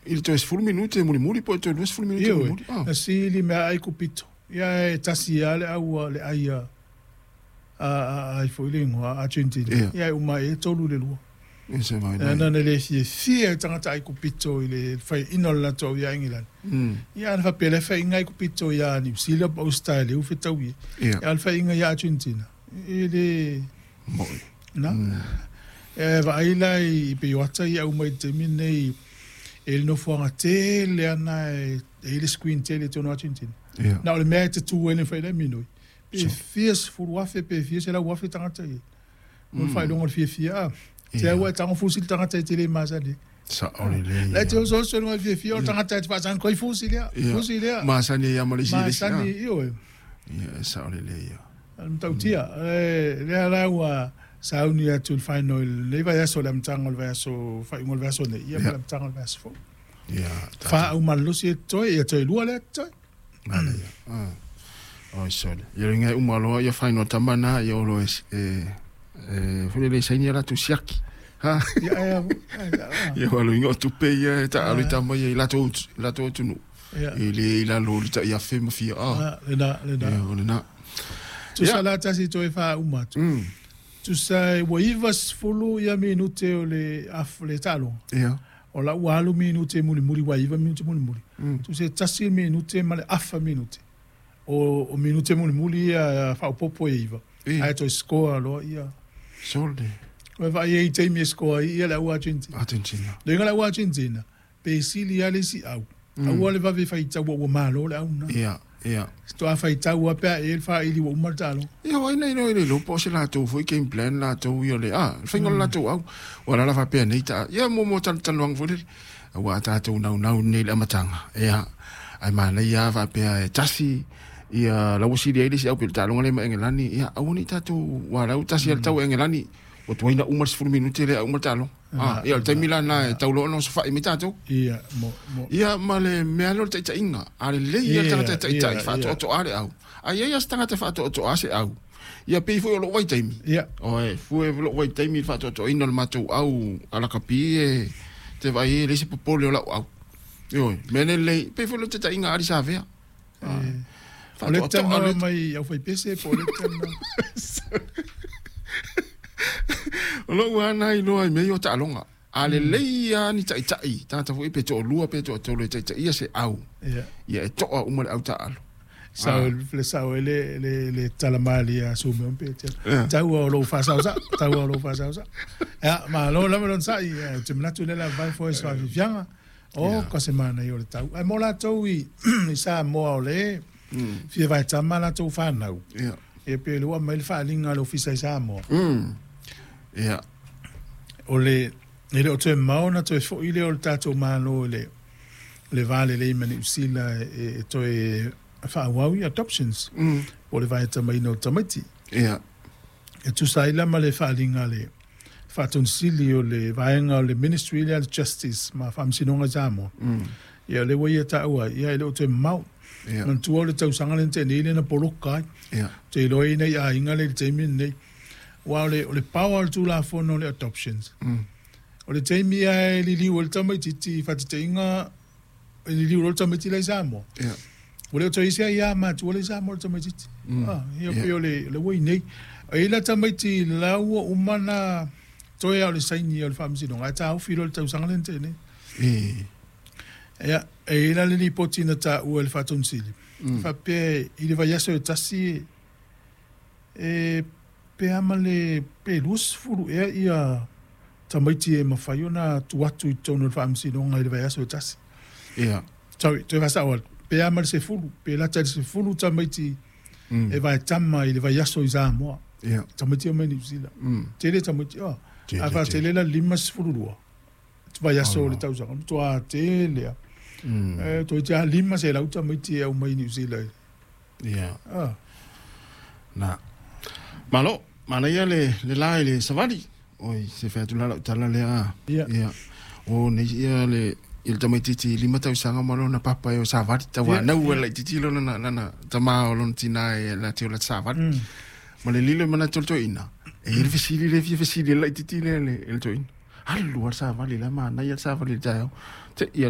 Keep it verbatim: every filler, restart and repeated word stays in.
I le toe sefulu minute mulimuli po o le toe luasefulu minute Ioe, mulimuli. Ah. Na sili mea ai kupito. Ia e tasi ia le au le ai a a ai foi le ingoa Argentina. Ia. Ia e uma e tolu le lua. E se vai E nai. na le fia fia tagata ai kupito i le fai ino le latou ia England. Mm. Ia na faapea le faiga ai kupito ia New Zealand po Australia u fetau ia. Ia. Ia le faiga ia Argentina. E le Moi. na. Mm. E vaai la i peioata ia uma i te taimi nei e le nofoaga tele ana e e i le screen tele i totonu o Argentina. Ia. Na o le mea e te tu ai le fai le minoi. Pe So. fia sefulu afe pe fia selau afe tagata ia. Mo le faailoga o le fiafia a. Te Ia. au e tago fusi le tagata e te le masani. Sa o le le. La te oso oso le fiafia o le tagata e te faasaga koi fusi lea. Ia. Fusi lea. Masani ia ma le isi le isi. Masani ah. ioe. Ia, e sa o le le ia. A le matautia. E lea la ua sauni atu i le final i lenei vaiaso le amataga o le vaiaso faaiuga o le vaiaso nei. Ia ma Ia. le amataga o le vaiaso fou. Ia. ta- Faaau malolosi e totoe ia toe lua lea totoe. Mala ia. Ah. Oi sole. Ia le ngai uma loa ia final tama na ia o lo e e e foi le saini la tu siaki. Ha. Ia e a. Ia walo inga o tupe ia e ta alu i tama ia i latou latou tunu. Ia. E le i lalo li ta ia fe ma fia a. Ah, lena lena. Ia o lena. Tusa la tasi toe faauma atu. Mm. Tusa e ua iva sefulu ia minute o le af le taaloga. Ia. O la ua alu minute mulimuli ua iva minute mulimuli. Mm. Tusa e tasi le minute ma le afa minute. O o minute mulimuli ia faaopopo e iva. E. Ae toe scoa loa ia. Sole. Ua vaai ai i taimi e scoa ai ia le au Argentina. Argentina. Le iga le au Argentina, pe sili lava le isi au. Aua le vave faitau ua malo le au na. Ia. Ia. Toa faitau a pea e le faaili ua uma le taaloga. Ia wai nei no ile lo po se latou foi game plan latou ia le ah le faiga o le latou au ua lala faapea nei ta ia mo mo tal taluaga foi lele ua tatou naunau nei i le amataga ia ae manaia faapea e tasi ia lauasili ai le isi au pe le taaloga lea ma Engelani ia aua nei tatou ua lau tasi a le tau Engelani ua tuaina uma le sefulu minute lea uma le taaloga ah ia o le taimi lana e tauloa ona osofa'i mai tatou Ia, mo, mo. ia ma le mea lea o le taʻitaʻiga a lelei ia le Ia, tagata e taʻitaʻi ia, faatoatoa le au a ia ia se tagata e faatoatoa se au ia pei foi o lou vaitaimi Ia, oe fue lou vaitaimi i le faatoatoaina o le matou au alakapi e te vaai e leai se popole o lau au ioe mea nei lelei pei foi o le taʻitaʻiga ali sa avea o le faatoatoa tanoa le mai au faipese po o le tanoa. o lou ana iloa i mea ia o taaloga a lelei a ni taʻitaʻi tagata foi pe toalua pe toatolu e taʻitaʻia se au Ia. ia e toa uma le au taaalo Sao le sao e le le le talamali a sume un pe te. Ia. Tau o lou faasausa, tau o lou faasausa. Ia, malo lava lona sa'i, ia, ou te manatu le la vai foi se faafiafiaga. O Ia. ka se manaia o le tau. Ae mo latou i i Samoa o le fia vaetama latou fanau. ia Ia pe le ua mai le faaliga a le ofisa i Samoa. mm ia O le e le o toe mao na toe fo'i lea o le tatou malo i le le va lelei ma Niu Sila e, e toe faaauau i adoptions mm po o le vaetamaina o tamaiti. ia E tusa ai la ma le faaliga le faatonisili o le vaega o le Ministry lea le Justice ma Faamasinoga i Samoa. mm Ia le ua ia taua ai, ia e le o toe mamao. ia Manatua o le tausaga lea na tea nei lea na poloka ai. ia Te iloa ina i aiga lea i le taimi lenei. Ua o le, o le power o le tulafono o le adoptions. mm O le taimi ae liliu ai le tamaitiiti i faataitaiga e liliu loa le tamaiti la i Samoa. ia Ua le o toe isi ai ia matua le i Samoa le tamaitiiti. Mm. Ah, ia Ia. pei o le, le ua i nei. E i la tamaiti la ua uma na toe au le saini o le faamasinoga, ae taofi loa le tausaga lea na tea nei. e Ia, e i la le lipoti na taua e le faatonisili. mm Faapea i le vaiaso e tasi e pe ama le pe luasefulu ea ia tamaiti e mafai ona tu atu i totonu o le faamasinoga i le vaiaso e tasi. ia Sorry, toe faasao atu. Pe ama le sefulu, pe lata i le sefulu tamaiti mm e vaetama i le vaiaso i Samoa. ia Tamaiti o mai Niu Sila. mm Tele tamaiti, oh. Tele, A faatele la lima sefulu lua. Vaiaso o le tausaga. Toa tele a. mm E, toi te a lima selau tamaiti e au mai Niu Sila. ia Ah. na malo manaia le le la i le savali oi se fai atu la lau tala lea Ia. ia o nei ia le i le tamaitiiti lima tausaga ma lona papa e o savali Ia, tauanau ia. e laitiiti lona na lana tamā o lona tinā e la te o la savali Mm. ma le lilo e manatu o le toeaina e i le fesili le fia fesili e laitiiti lea le e le toeaina alu a le savali la manaia le savali i le taeao te ia